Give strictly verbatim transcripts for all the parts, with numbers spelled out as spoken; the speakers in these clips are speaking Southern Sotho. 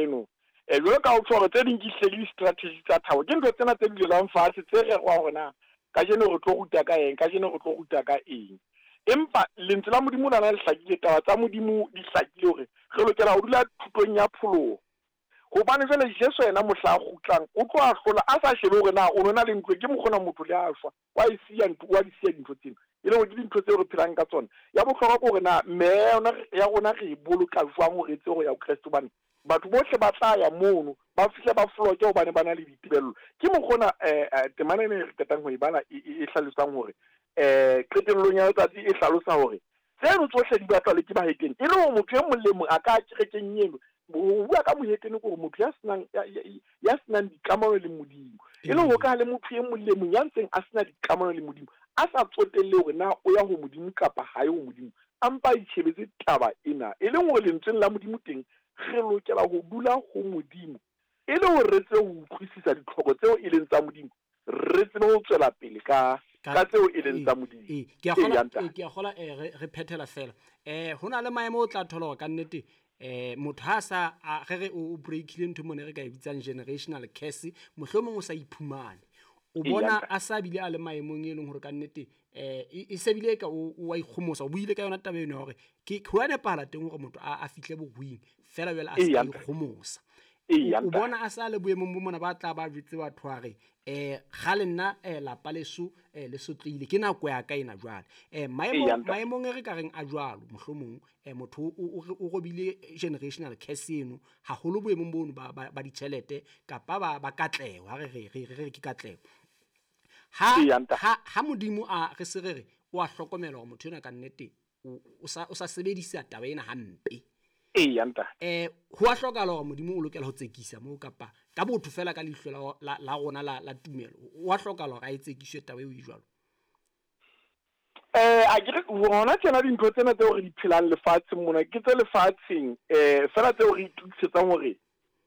eno. Um jwalo ka o tjho hore tse ding ke hlile di-strategy tsa thabo, ke ntho tsena tse dulelang fatshe tse rerwang hore na kajeno re tlo ruta ka eng, kajeno re tlo ruta ka eng. Empa lentswe la Modimo lona le hlakile, taba tsa Modimo di hlakile hore re lokela ho dula thutong ya pholoho. Hobane jwale Jesu yena mohla a kgutlang o tlo ahlola a sa shebe hore na o nona le ntlo, ke mokgona motho le a shwa, wa e siya ntlo, wa di siya dintho tsena. E leng hore ke dintho tseo re phelang ka tsona. Ya bohlokwa ke hore na meya ya rona re e boloka jwang hore e tsebe ho ya ho Kreste, hobane batho bohle ba tla ya mono ba fihle ba floke hobane ba na le ditebello. Ke mokgona um temana ena e re qetang ho e bala e hlalosang hore um qetellong ya letsatsi e hlalosa hore tseno tsohle di batlwa le ke bahetene, e le hore motho e mong le mong a ka kerekeng eno. Ho bua ka mohetene ke hore motho ya senang ya senang dikamano le Modimo, e le hore ka le motho e mong le mong ya ntseng a sena dikamano le Modimo, a sa tsotelle hore na o ya ho Modimo kapa ha ye ho Modimo, a mpa a itjhebetse taba ena. E leng hore lentsweng la Modimo teng re lokela ho dula ho Modimo e le hore re tsebe ho utlwisisa ditlhoko tseo e leng tsa Modimo, re tsebe ho tswela pele ka ka tseo e leng tsa Modimo. Ee, ke a kgola, ke a kgola eh re phethela fela. Eh ho na le maemo o tla thola hore ka nnete eh motho ha sa re re o breakile ntho mone re ka e bitsang generational curse, mohlomong o sa iphumane. O bona a sa bile a le maemong e leng hore ka nnete eh e sebile ka o wa ikgomosa, o buile ka yona taba eno hore ke ho a nepahala teng hore motho a fihle boruing fela jwale a sa ikgomosa. O bona a sa le boemong bo mona ba tla ba jwetse batho hore eh kgale nna eh lapa leso eh le sotlehile, ke nako ya ka ena jwale. Eh maemong maemong e re ka reng a jwalo, mohlomong eh motho o robile generational curse eno haholo boemong bono ba ba ditjhelete kapa ba ba katleho, ha re re re re ke katleho. Ha ha ha Modimo a re se re re o a hlokomela hore motho ena ka nnete o sa o sa sebedisa taba ena hampe. Eya ntate. Eh ho a hlokahala hore Modimo o lokela ho tsekisa moo kapa ka botho fela ka leihlo la la rona la la tumelo, o a hlokahala hore a e tsekiswe taba eo e jwalo. Eh a ke re hona tjena dintho tsena tseo re di phelang lefatsheng mona ke tse lefatsheng eh fela tseo re itukisetsang hore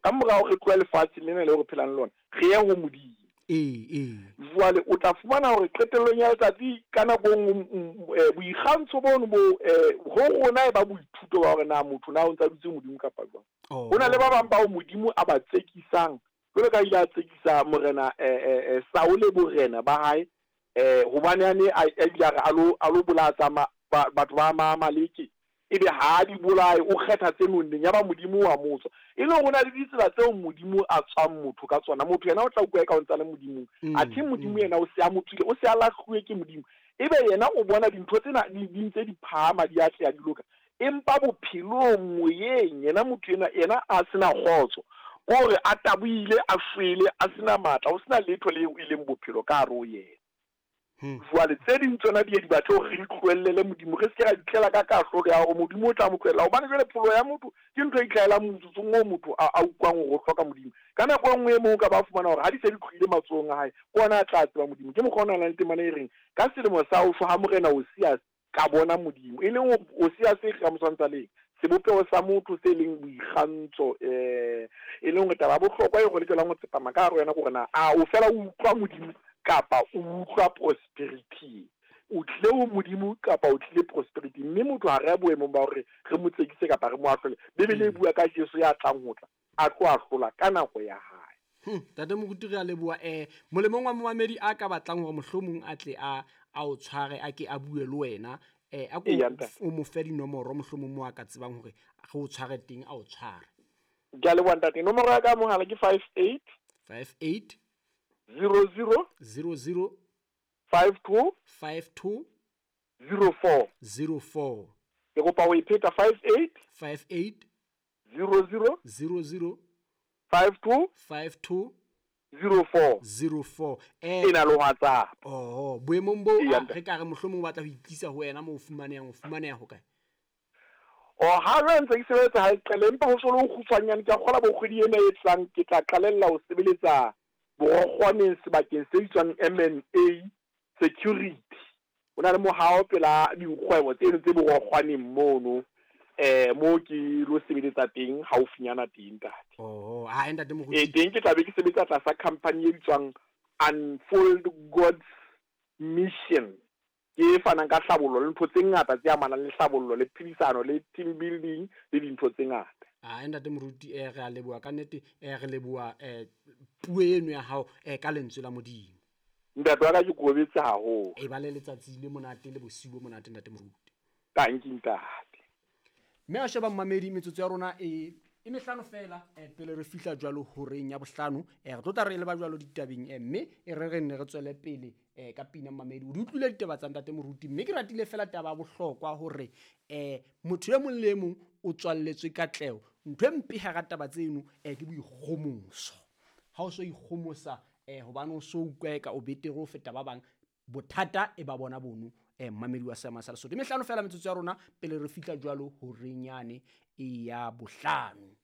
ka morao re tloha lefatsheng lena leo re phelang lona re ye ho Modimo. Ee, ee. Jwale o tla fumana hore qetellong ya letsatsi ka nako e boikgantsho bono bo ho rona e ba boithuto ba hore na motho na o ntsa dutse Modimo kapa jwang. Ho na le ba bang bao Modimo a ba tsekisang, jwalo ka ile a tsekisa morena eh Saule borena ba hae eh hobane a ne a ile a re a lo a lo bolaya tsa batho ba Maamaleke, ebe ha di bolaye o kgetha tse nonneng, ya ba Modimo wa motswa. E le hore ho na le ditsela tseo Modimo a tswang motho ka tsona. Motho yena o tla utlwa eka o ntsa le Modimong, athe Modimo yena o se a mo tswile, o se a lahluwe ke Modimo. Ebe yena o bona dintho tsena di ntse di phahama, di atleha, di loka, empa bophelong moyeng yena motho ena yena a sena kgotso, kore a tabohile, a shwele, a sena matla, ho sena letho leo e leng bophelo ka hare ho yena. Jwale tse ding tsona di ye di batle hore re tlohellele Modimo, re se ke ra itlela ka kahlolo ya hore Modimo o tla mo tlohella, hobane jwale pholo ya motho ke ntho e itlhahelang motsotsong oo motho a utlwang hore o hloka Modimo. Ka nako e nngwe e mong o ka ba fumana hore ha di se di tlohile matsohong a hae, ke ona a tla tseba Modimo. Ke mokgwa o nang le temana e reng ka selemo sa ho shwa ha morena Osias ka bona Modimo, e leng Osias e ka mo tshwantsha le sebopeho sa motho se leng boikgantsho, eh e leng hore taba ya bohlokwa e re lokelang ho tsepama ka hare ho yona ke hore na a o fela o utlwa Modimo kapa o utlwa prosperity, o tlile ho Modimo kapa o tlile prosperity. Mme motho ha re ya boemong ba hore re mo tsekise kapa re mo ahlole. Bibele e bua ka Jesu ya tlang ho tla a tlo ahlola ka nako ya hae. Ntate Moruti re a leboha. Eh molemong wa momamedi a ka batlang hore mohlomong a tle a a o tshware, a ke a bue le wena, eh a ko o mo fe dinomoro mohlomong mo a ka tsebang hore re o tshware teng, a o tshware. Ke a leboha ntate. Nomoro ya ka mohala ke five eight five eight zero zero zero zero five two five two zero four zero four. Ke kopa ho e pheta five eight five eight zero zero zero zero five two five two zero four zero four. Eh e na le WhatsApp. Oh, boemong bo re ka re mohlomong o batla ho itlisa ho wena mo o fumanehang, o fumaneha ho kae? O ha re ntse ke sebetsa ha e qale, empa ho so le ho kgutshwanyane ke a kgola bo kgwedi ena e tlang ke tla qalella ho sebeletsa borokgwaneng sebakeng se bitswang M N A Security. Ho na le mohao pela dikgwebo tseno tse borokgwaneng mono, eh mo ke lo sebeletsa teng haufinyana teng ntate. Oh, ha ntate Moruti. Eh teng ke tla be ke sebetsa tlasa company e bitswang Unfold God's Mission, ke fanang ka hlabollo le ntho tse ngata tse amanang le hlabollo le phedisano le team building le dintho tse ngata. A ntate moruti, eh re a leboha ka nnete, eh re leboha eh puo eno ya hao eh ka lentswe la Modimo. Ntate wa ka, ke kobetse haholo. E ba le letsatsi le monate le bosiu bo monate, ntate moruti. Tanki ntate. Mme a sheba mmamedi, metsotso ya rona e e mehlano fela eh, pele re fihla jwalo horeng ya bohlano, eh re tlo tla re leba jwalo ditabeng, eh, mme e re re nne re tswele pele eh ka pina. Mmamedi, o di utlwile ditaba tsa ntate moruti, mme ke ratile fela taba ya bohlokwa hore eh motho e mong le e mong o tswalletswe katleho. Ntho e mpe hara taba tseno eh ke boikgomoso. Ha o so ikgomosa eh hobane o so utlwa eka o betere ho feta ba bang, bothata e ba bona bono. eh mmamedi wa Seema sa Lesotho, mehlano fela metsotso ya rona pele re fihla jwalo horeng yane e ya bohlano.